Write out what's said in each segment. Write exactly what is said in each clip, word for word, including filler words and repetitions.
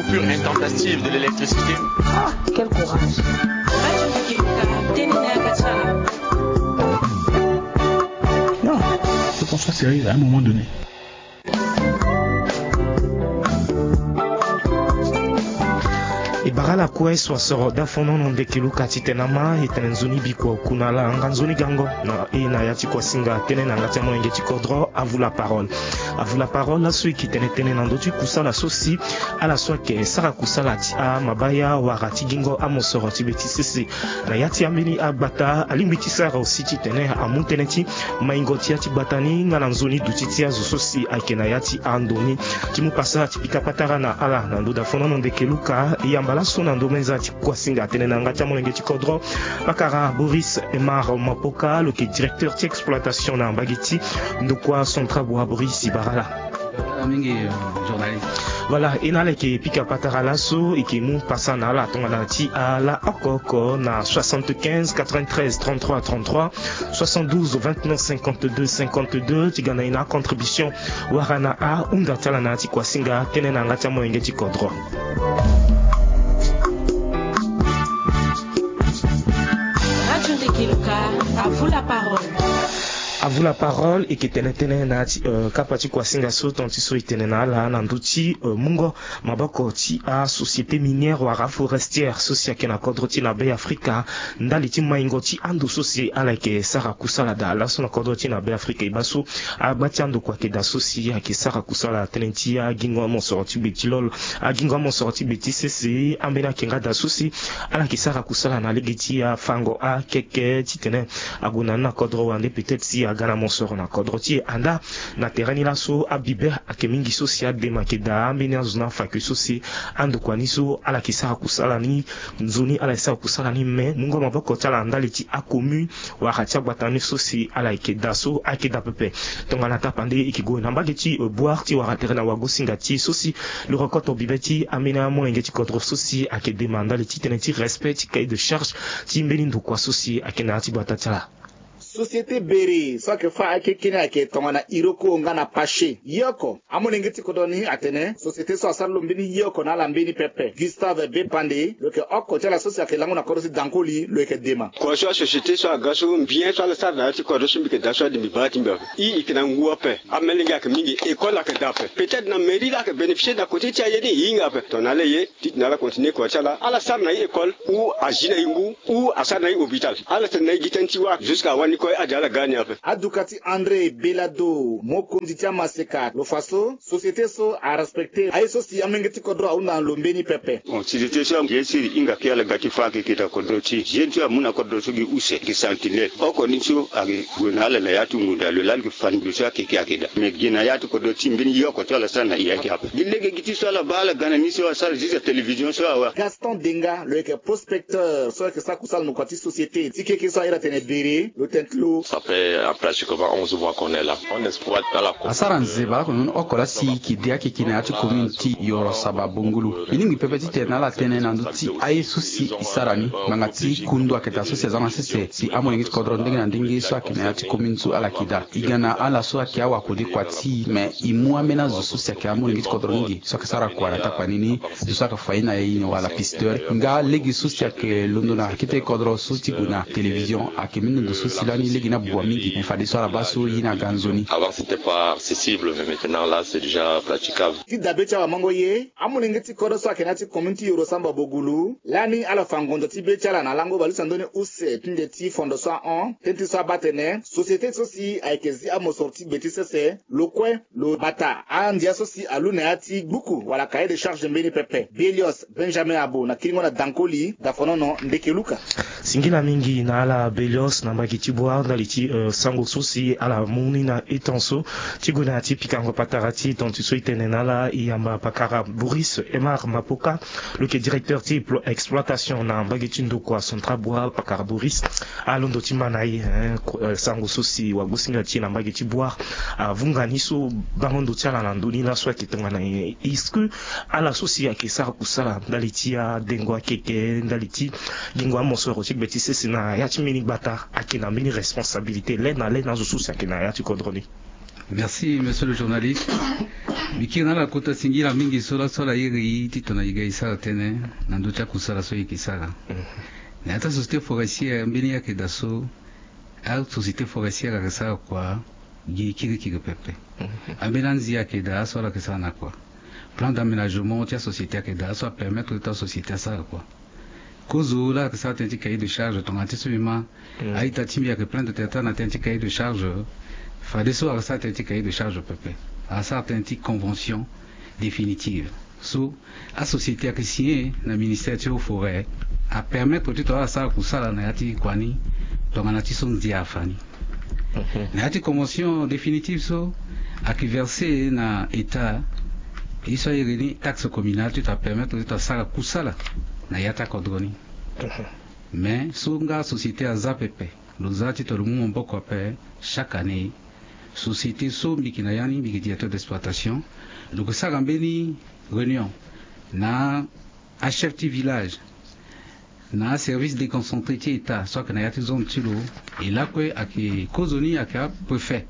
Coupure intempestive de l'électricité. Ah, quel courage. Non, je pense pas sérieux à un moment donné. E bara ala kue so asoro dafonono ndeke luka titene ama e tene nzoni bikua oku na ala nga nzoni gango na e na ya ti kuasinga tënë na yanga ti amolenge ti kodro. Avu la parole. Avu la parole laso e ke tene tënë na ndö ti kusala so si ala so ayeke sara kusala ti amabaya wala ti gingo amosoro ti be ti sese na ya ti ambeni agbata alingbi ti sara aussi titene amu tënë ti maingo ti ya ti gbata ni nga na nzoni duti ti azo so si ayeke na ya ti ando ni. Ti mu pasa ti pika patara na ala na ndö dafonono ndeke luka e yamba laso na ndö menza ti kuasinga tënë na yanga ti amolenge ti kodro. Pakara Boris Emar Mapoka lo yeke directeur ti exploitation na mbage ti ndokua Centrabua. Boris, e bara ala. Mingi, euh, journaliste. Voilà, e na ala yeke pika patara laso e yeke mu pasa na ala tongana ti ala oko oko na soixante-quinze quatre-vingt-treize trente-trois trente-trois, soixante-douze vingt-neuf cinquante-deux cinquante-deux, ti ga na e na acontribution wala na ahunda ti ala na ya ti kuasinga tënë na yanga ti amolenge ti kodro. Radio Ndeke Luka, à vous la parole. À vous la parole. E yeke tene tënë na ya ti, euh, kapa ti kuasinga so tonga ti so e tene na ala na ndö ti, euh, mungo maboko ti asociété minière wala forestière so si ayeke na kodro ti e na Be Afrika ndali ti maingo ti ando so si ala yeke sara kusala daa laso na kodro ti e na Be Afrika. E baa so agba ti andokua ayeke daa so si ayeke sara kusala tënë ti agingo amosoro ti gbe ti lolo, agingo amosoro ti gbe ti sese, ambeni ayeke nga daa so si ala yeke sara kusala na lege ti afango akeke titene ague na ni na kodro wande peut-être si aga na mosoro na kodro ti e. Anda na tere ni laso abibe ayeke mingi so si adema ayeke daa ambeni azo na afakui so si andokua ni so ala yeke sara kusala ni, nzoni ala yeke sara kusala ni, me mungo maboko ti ala ndali ti acommune wala ti agbata ni so si ala yeke daa so ayeke daa pepe. Tongana tapande e yeke gue na mbage ti, euh, Bouar ti wara tere na wagosinga ti e so si lo rokoto bibe ti ambeni amolenge ti kodro so si ayeke dema ndali ti tënë ti respect ti cahier de charge ti mbeni ndokua so si ayeke na ya ti gbata ti ala. Société Bere so ayeke fâ akeke ni ayeke tongana Iroko nga na Pache. Ye oko amolenge ti kodro ni atene société so asara lo mbeni ye oko na ala mbeni pepe. Gustave Bepande lo yeke oko ti ala so si ayeke lango na kodro ti Dankoli lo yeke dema. Kua so asociété so aga so mbi ye so ala sara na ya ti kodro so mbi yeke daa so ade mbi baa ti mbi ape. I yeke na ngu ape. Amelenge ayeke mingi, école ayeke daa ape. Peut-être na mairie la ayeke bénéficier na côté ti aye ni e hinga ape. Tongana ala ye titene ala continuer kua ti ala, ala sara na e école ou azi na e ngu ou asara na e hôpital. Ala tene na e gi tënë ti wâ jusqu'à wani kue ade ala ga ni ape. Aduka ti André Belado, mokonzi ti amaseka, lo fa so société so arespecter aye so si amolenge ti kodro ahunda na lo mbeni pepe. Bon, société so aye so e hinga kue ala ga ti fâ akeke na kodro ti e. Jeune so amu na kodro so gi use gi sentinelle. Oko ni so ayeke gue na ala na ya ti ngonda lo lani yeke fa ndo so akeke ayeke daa. Me gi na ya ti kodro ti e mbeni ye oko so ala sara na e ayeke ape. Gi lege gi ti so ala baa ala ga na ni so asara juste télévision so awe. Gaston Denga lo yeke prospecteur so ayeke sara kusala na kua ti société ti keke so ahiri atene Bere, lo tene ti lo. Ça fait, euh, pratiquement onze mois qu'on est là. On exploite dans la commune. Asara nzeba lakue nzoni oko laa si e yeke de akeke na ya ti commune ti Yoro Saba Bongolo. E lingbi pepe titene ala tene na ndö ti aye so si e sara ni ngbanga ti kundu ayeke daa so si aza na sese si amolenge ti kodro ndenge na ndenge so ayeke na ya ti commune so ala yeke daa. E ga na ala so ayeke awakode kua ti e, me e mu ambeni azo so si ayeke amolenge ti kodro mingi so ayeke sara kua na takua ni ni. Zo so ayeke fa ye na e ni wala pisteur nga lege so si ayeke londo na kete kodro so ti gue na télévision ayeke mbeni ndo so si lani lege ni abua mingi. Me fadeso ala baa so ye ni aga nzoni. Avant c'était pas accessible, mais maintenant là c'est déjà praticable. Ti dabe ti awamango ye, amolenge ti kodro so ayeke na ya ti commune ti Yoro Samba Bogulu lani ala fa ngonzo ti be ti ala na lango bale ti andoni use ti nde ti fondo so ahon. Tënë ti so abaa atene société so si ayeke zi amosoro ti gbe ti sese. Lo kue lo bata andia so si alu na ya ti gbuku wala cahier de charge mbeni pepe. Belios Benjamin Abo na kiringo na Dankoli, Dafonono, Ndeke Luka. Singila mingi na ala Belios na mbage ti Bouar ndali ti, euh, sango so si ala mu ni na e tan so. Ti gue na ya ti pikango patara ti e tonga ti so e tene na ala, e yamba pakara Boris Emar Mapoka, lo yeke directeur ti explo-, exploitation na mbage ti ndokua Centrabua. Pakara Boris, alondo ti ma na e, hein, ko-, euh, sango so si wagosinga ti e na mbage ti Bouar avunga ni so bango ndo ti ala na ndö ni laso ayeke tongana nyen? Est-ce que ala so si ayeke sara kusala ndali ti adengo akeke, ndali ti gingo amosoro ti gbe ti sese na ya ti mbeni gbata ayeke na mbeni responsabilité le na le na azo so si ayeke na ya ti kodro ni? Merci, monsieur le journaliste. Mbi kiri na ala kota singila mingi so laso ala iri e titona e ga e sara tënë na ndö ti akusala so e yeke sara. Na ya ti asociété forestière, mbeni ayeke daa so asociété forestière ayeke sara kua gi kirikiri pepe. Ambeni anzi ayeke daa so ala yeke sara na kua. Plan d'aménagement ti asociété ayeke daa so apermettre ti asociété asara kua. Kozo laa ayeke sara tënë ti cahier de charge tongana ti so mbi ma. Aita ti mbi ayeke plainte tene ata na tënë ti cahier de charge. Fadeso ayeke sara tënë ti cahier de charge pepe. Ayeke sara tënë ti convention définitive so asociété ayeke signé na ministère ti haut forêt, apermettre titene ala sara kusala na ya ti kua ni. Tongana ti so ndia afa ni, na ya ti convention définitive so, ayeke verser na état ye so airi ni taxe communale titene apermettre titene asara kusala na ya ti akodro ni. Mais so nga société aza pepe, lo za titene lo mu maboko ape. Chaque année, société so mbi yeke na ya ni, mbi yeke directeur d'exploitation, lo yeke sara mbeni réunion na achef ti village, na aservice déconcentré ti état so ayeke na ya ti zone ti lo. E lakue ayeke kozo ni ayeke apréfet,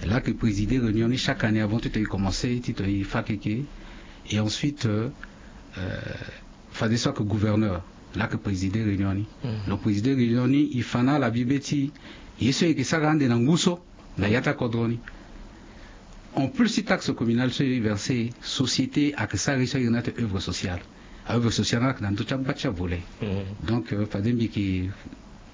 laa ayeke présider réunion ni chaque année avant titene e commencer titene e fa keke. Et ensuite, euh, euh, fadeso ayeke gouverneur, laa ayeke présider réunion ni. Lo présider réunion ni, e fa na ala bibe ti e so e yeke sara ande na ngu so na ya ti akodro ni. En plus ti taxe communale so e verser, société ayeke sara ye so airi ni ate œuvre sociale. Aœuvre sociale ni ayeke na ndö ti agba ti avolet. Donc, euh, fade mbi yeke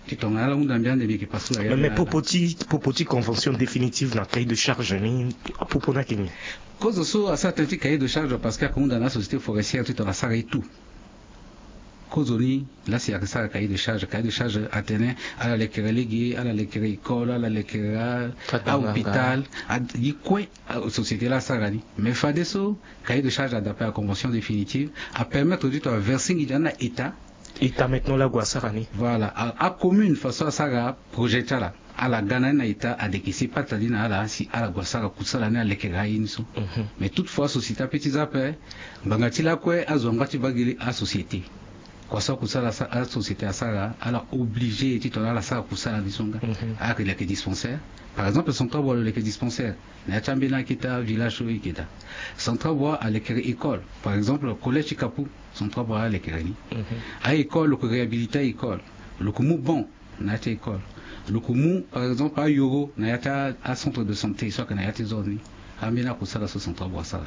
ti tongana ala hunda mbi ande mbi yeke passe na ya. Mais, mais popo ti, popo ti convention définitive na cahier de charge ni, apopo ni ayeke nyen? Kozo so asara tënë ti cahier de charge parce que ayeke hunda na asociété forestière titene asara ye tout. Kozo ni laa si ayeke sara cahier de charge, cahier de charge atene ala lekere lege, ala lekere école, ala lekere a-hôpital, a-, gi kue. Société laa asara ni. Mais fadeso cahier de charge adape na convention définitive, apermettre titene averser nginza ni na état. État maintenant laa ague asara ni. Voilà, acommune façon asara projet ti ala, ala ga na ni na état, adekese pata ni na ala si ala gue asara kusala ni, alekere aye ni so. Mais toutefois société ape ti za ape, ngbanga ti lakue azo angba ti baa gi asociété. Kua so akusala asociété asara, ala obligé titene ala sara kusala ni so nga. Ala yeke leke dispensaire. Par exemple, Centrabras lo leke dispensaire na ya ti ambeni akete avillage so e yeke daa. Centrabras alekere école, par exemple collège ti Kapou, Centrabras alekere ni. A-école, lo yeke réhabiliter a-école, lo yeke mu banc na ya ti école, lo yeke mu par exemple ayoro na ya ti acentre de santé so ayeke na ya ti zone ni. Ambeni akusala so Centrabras asara.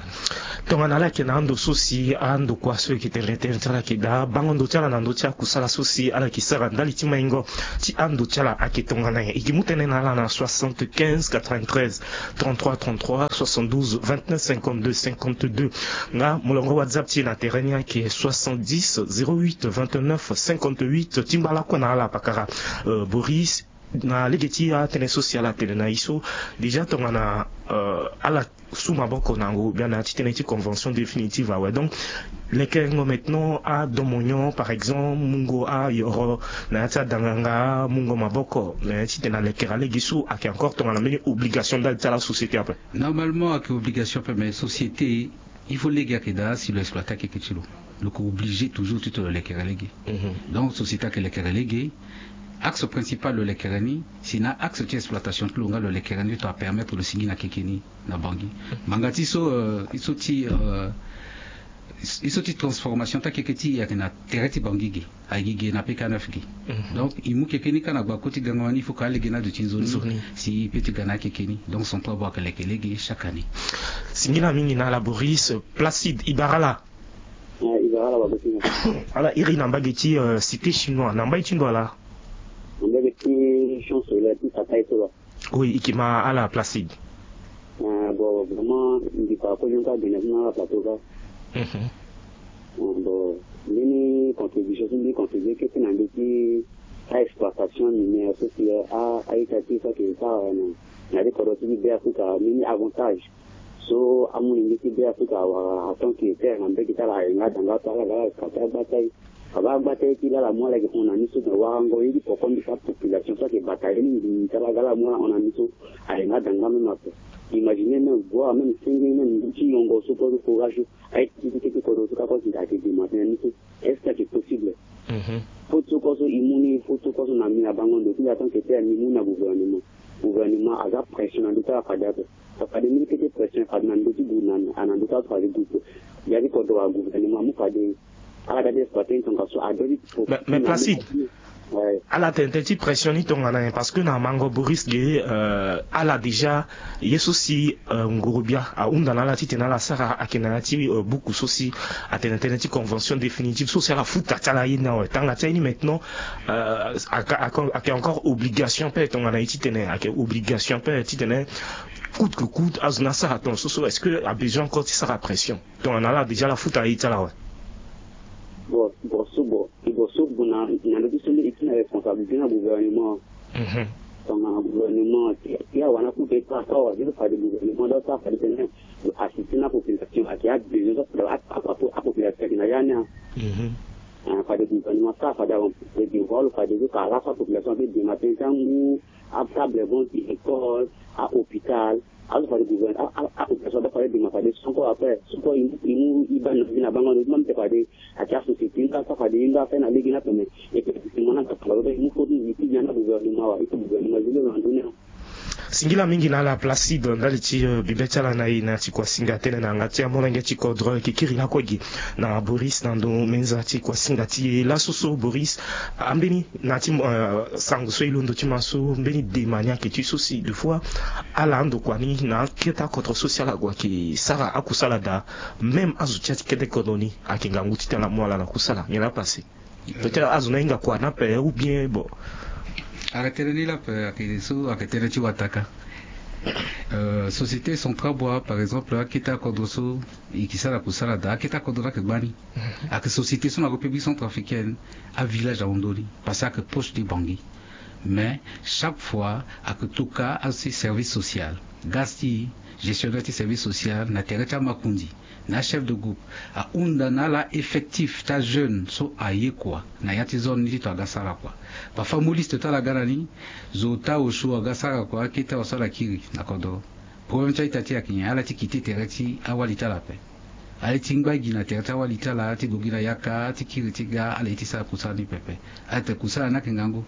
Tongana ala yeke na ando so si ando kua so e yeke tene tënë ti ala ayeke daa, bango ndo ti ala na ndö ti akusala so si ala yeke sara ndali ti maingo ti ando ti ala ayeke tongana nyen? E yeke mu tënë na ala na soixante-quinze quatre-vingt-treize trente-trois trente-trois, soixante-douze vingt-neuf cinquante-deux cinquante-deux. Nga molongo WhatsApp ti e na tere ni ayeke soixante-dix zéro huit vingt-neuf cinquante-huit. Ti ngba lakue na ala pakara, euh, Boris. Na lege ti atënë so si ala tene na e so, déjà tongana, euh, ala su maboko na yango biani na ya ti tënë ti convention définitive awe. Donc lekerengo maintenant adomonyon, par exemple mungo ayoro na ya ti adanganga, mungo maboko na ya ti tene alekere alege so ayeke encore tongana mbeni obligation ndali ti ala société ape? Normalement ayeke obligation ape, mais société il faut lege ayeke daa si lo exploiter akeke ti lo, lo yeke obligé toujours titene lo lekere lege. Donc société ayeke lekere lege. Axe principal lo lekere ni, si na axe ti exploitation ti lo nga lo lekere ni titene apermettre lo sigi na keke ni na Bangui. Ngbanga ti so, euh, ye so ti, euh, ye so ti transformation ti akeke ti e ayeke na tere ti Bangui ge. Aye gi ge na P K neuf ge. Donc e mu keke ni kâ na gbako ti gango ni, il faut que alege ni aduti nzoni si e peut ti ga na akeke ni. Donc Centrabras ayeke leke lege chaque année. Singila mingi na ala Boris. Placide, e bara ala? Ala iri na mbage ti, euh, Cité Chinois, na mbai ti ndo ala? Na mbage ti Champ Soleil ti Fakai so lo. Oui, e yeke ma ala Placide. Ah bon, vraiment mbi fa kozo ni kâ gene ti na ala plateau kâ. Bon, mbeni contribution ti mbi contribuer kete na ndö ti a-exploitation minière so si a-ita ti e so ayeke sara na, na ya ti kodro ti mbi Be Afrika, mbeni avantage so amolenge ti Be Afrika awara, atant que terre na mbage ti ala aye nga da nga so ala ga ala exploiter agba ti aye. Abaa agba ti aye ti laa ala mu ala yeke hon na ni so, me warango ye ti poko mbi ti apopulation so ayeke bata ye mingi ti ala ga ala mu ala hon na ni so, aye nga da nga même ape. Imaginer même, voir même senge même ngu ti yongo so kue so, forage so. Aye ti ti keke kodro so kâ kue si ayeke dema tënë ni so, est-ce que ayeke possible? Faute so kue so e mu ni, faute so kue so na mbi na bango ndo ti mbi atant que terre mbi mu na gouvernement. gouvernement aza pression na ndö ti ala fade ape. Fade mbeni kete pression fade na ndö ti gouvernement, na ndö ti ala fade gouvernement. Ya ti kodro wa gouvernement mu fade ala da ti exploiter ni tongaso ado ti. Mais, mais Placide, ala tene tënë ti pression ni tongana nyen? Parce que na mango Boris ge, euh, ala déjà ye so si, euh, ngorobia ahunda na ala titene ala sara ayeke na ya ti, euh, buku so si atene tënë ti convention définitive so si ala futa ti ala ye ni awe. Tanga ti aye ni maintenant, euh, ayeke encore obligation ape tongana ye titene ayeke obligation ape titene coûte que coûte azo ni asara tongaso so, est-ce que abesoin encore ti sara pression? Tongana ala déjà ala futa aye ti ala awe. Bon, bon, so bon, e bon, so bon na, na ndö ti so nde e ti na responsabilité na gouvernement. Mhm. Tongana gouvernement ti, ti awara na coûte ti asara wa, ti fade gouvernement do asara fade tënë, lo assister na population ayeke abesoin so fade a, a, a, apopulation ayeke na ya ni a. Mhm. Ah, fade gouvernement asara fade aremplir devoir lo fade so ka ala so apopulation ape dema tënë ti angu, atable bon ti école, ahôpital. Azo fade gouvernement a, a, a population aba fade dema fade so encore après so encore e mu, e mu e baa na vie na bango ndo ti ma mbi te fade ayeke asociété nga so fade e nga afai na lege ni ape me e pe gouvernement na gapala so e mu koti e ti bia na gouvernement wa e ti gouvernement zile na ndö ni. Singila mingi na ala Placide ndali ti, euh, bibe ti ala na e na ti kuasinga tënë na yanga ti amolenge ti kodro e yeke kiri lakue gi na Boris na ndo menza ti kuasinga ti e laso so Boris. Ambeni na ti, euh, sango so e londo ti ma so mbeni dema ni ayeke ti so si de fois ala andokua ni na akete akodro so si ala gue ayeke sara akusala daa. Même azo ti ya ti kete kodro ni ayeke ngangu titene ala mu ala na kusala nyen laa passé? Peut-être azo ni ahinga kua ni ape ou bien bon. Ayeke tënë ni laa ape, ayeke so ayeke tënë ti wataka. Euh, société Centrabois par exemple akete akodro so e yeke sara kusala daa, akete akodro ni ayeke gbani. Mhm. Ayeke société so na République centrafricaine, avillage ahon ndö ni parce que ayeke proche ti Bangui. Mais chaque fois ayeke toka azo ti service social, ga ti gestionnaire ti service social na tere ti amakundi, na achef de groupe, ahunda na ala effectif ti ajeune so aye kua na ya ti zone ni titene aga sara kua. Parfois amu liste ti ala aga na ni, zo ota osio aga sara kua, akete awa so ala kiri na kodro. Problème ti a-ita ti e ayeke nyen? Ala ti quitté tere ti awali ti ala ape. Ala ye ti ngba gi na tere ti awali ti ala ti gue gi na yaka ti kiri ti ga, ala ye ti sara kusala ni pepe. Ala tene kusala ni ayeke ngangu.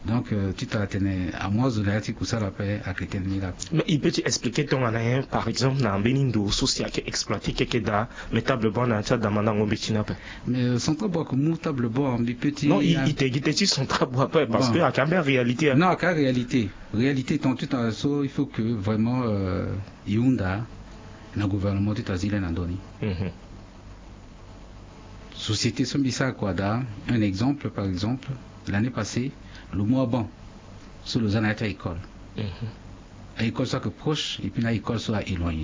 Donc, euh, titene atene amu azo na ya ti kusala ape, ayeke tënë ni laa ape. Mais e peut ti expliquer tongana nyen par exemple na mbeni ndo so si ayeke exploiter keke daa, mais table banc na ya ti adamandango mbeti ni ape? Mais, euh, Centrabois ayeke mu table banc, mbi peut ti... Non, e, euh, e tene gi tënë ti Centrabois ape parce que ayeke ambeni réalité, hein. Non, ayeke aréalité. Réalité tongana titene so il faut que vraiment, euh, e hunda na gouvernement titene azi le na ndö ni. Mhm. Société so mbi sara kua daa, un exemple, par exemple, l'année passée, lo mu abanc so lo za na ya ti a-école. Mhm. A-école so ayeke proche et puis na a-école so a-éloigné.